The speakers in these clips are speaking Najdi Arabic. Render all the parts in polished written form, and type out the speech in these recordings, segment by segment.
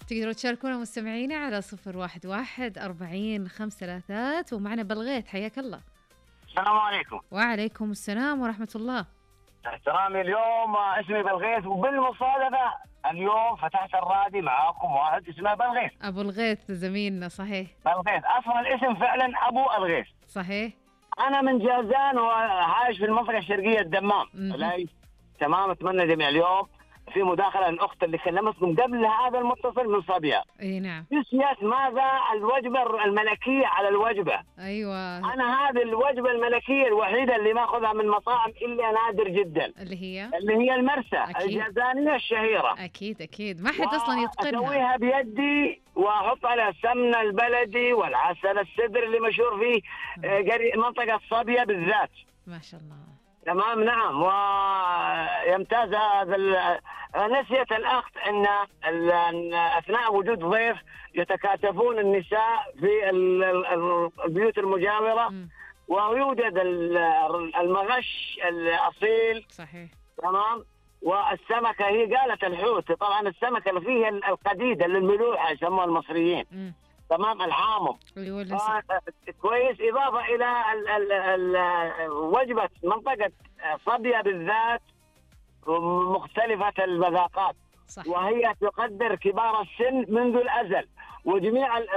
تقدروا تشاركونا مستمعينا على 011-40-533. ومعنا بلغيث، حياك الله. السلام عليكم. وعليكم السلام ورحمة الله. احترامي، اليوم اسمي بلغيث، وبالمصادفة اليوم فتحت الرادي معاكم واحد اسمه بلغيث. أبو الغيث زميلنا، صحيح. بلغيث أصلا الاسم فعلا أبو الغيث. صحيح. أنا من جازان وعايش في المنطقة الشرقية الدمام. تمام. أتمنى جميع اليوم في مداخلة الأخت اللي كلمتكم قبل هذا المتصل من صبيا. اي نعم. نسيت ماذا الوجبة الملكية على الوجبة. ايوه. أنا هذه الوجبة الملكية الوحيدة اللي ما أخذها من مطاعم إلا نادر جدا، اللي هي المرسى الجازانية الشهيرة. أكيد ما حد أصلا يتقنها. أسويها بيدي وأحط عليها السمنة البلدي والعسل السدر اللي مشهور فيه منطقة صبيا بالذات. ما شاء الله. تمام. نعم. ويمتاز هذا. نسيت الأخت أن أثناء وجود ضيف يتكاتفون النساء في البيوت المجاورة. ويوجد المغش الأصيل. صحيح. تمام. والسمكة هي قالت الحوت، طبعا السمكة اللي فيها القديدة اللي الملوحة يسموها المصريين. تمام. الحامض كويس. إضافة إلى وجبة منطقة صبيا بالذات مختلفة المذاقات. صح. وهي تقدر كبار السن منذ الأزل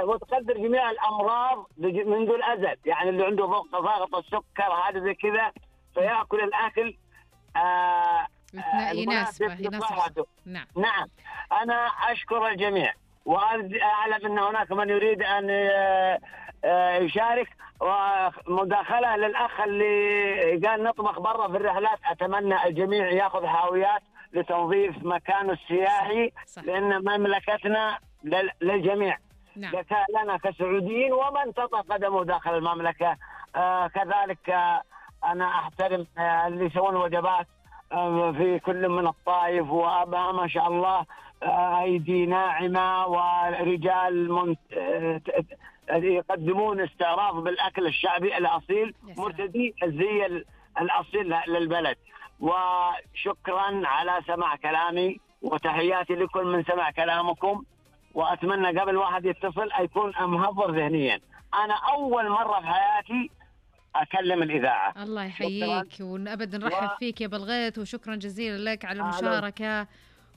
وتقدر جميع الأمراض منذ الأزل. يعني اللي عنده ضغط السكر هذا زي كذا فيأكل الأكل يناسب صحته. نعم. أنا أشكر الجميع وأعلم أن هناك من يريد أن يشارك. ومداخلة للأخ اللي قال نطبخ برا في الرحلات، أتمنى الجميع يأخذ حاويات لتنظيف مكانه السياحي. صح. لأن مملكتنا للجميع. نعم. لنا كسعوديين ومن تطأ قدمه داخل المملكة. كذلك أنا أحترم اللي يسوون وجبات في كل من الطائف وأبها ما شاء الله أيدي ناعمة ورجال يقدمون استعراض بالأكل الشعبي الأصيل مرتدي الزي الأصيل للبلد. وشكرا على سماع كلامي وتحياتي لكل من سمع كلامكم. وأتمنى قبل واحد يتصل يكون مهضر ذهنيا. أنا أول مرة في حياتي أكلم الإذاعة. الله يحييك وأبدا نرحب فيك يا بلغيث، وشكرا جزيلا لك على المشاركة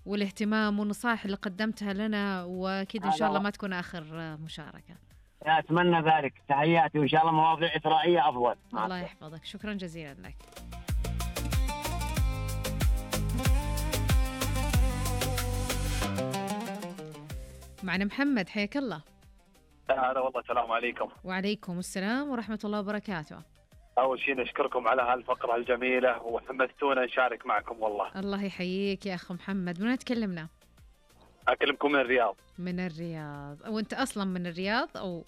والاهتمام والنصائح اللي قدمتها لنا، وأكيد إن شاء الله ما تكون آخر مشاركة. أتمنى ذلك. تحياتي وإن شاء الله مواضيع إثرائية أفضل. الله يحفظك. شكرا جزيلا لك. معنا محمد، حياك الله. هلا والله. السلام عليكم. وعليكم السلام ورحمة الله وبركاته. أول شيء نشكركم على هالفقرة الجميلة وحمستونا نشارك معكم والله. الله يحييك يا أخ محمد. من تكلمنا؟ أكلمكم من الرياض. من الرياض. وأنت أصلا من الرياض أو؟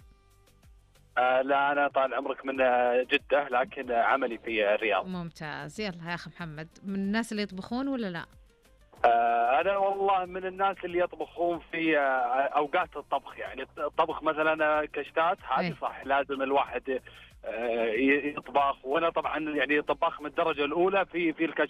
لا أنا طال عمرك من جدة لكن عملي في الرياض. ممتاز. يلا يا أخ محمد، من الناس اللي يطبخون ولا لا؟ أنا والله من الناس اللي يطبخون في أوقات الطبخ. يعني الطبخ مثلا كشتات هذه صح لازم الواحد يطبخ. وأنا طبعا يعني طباخ من الدرجة الأولى في الكشتات.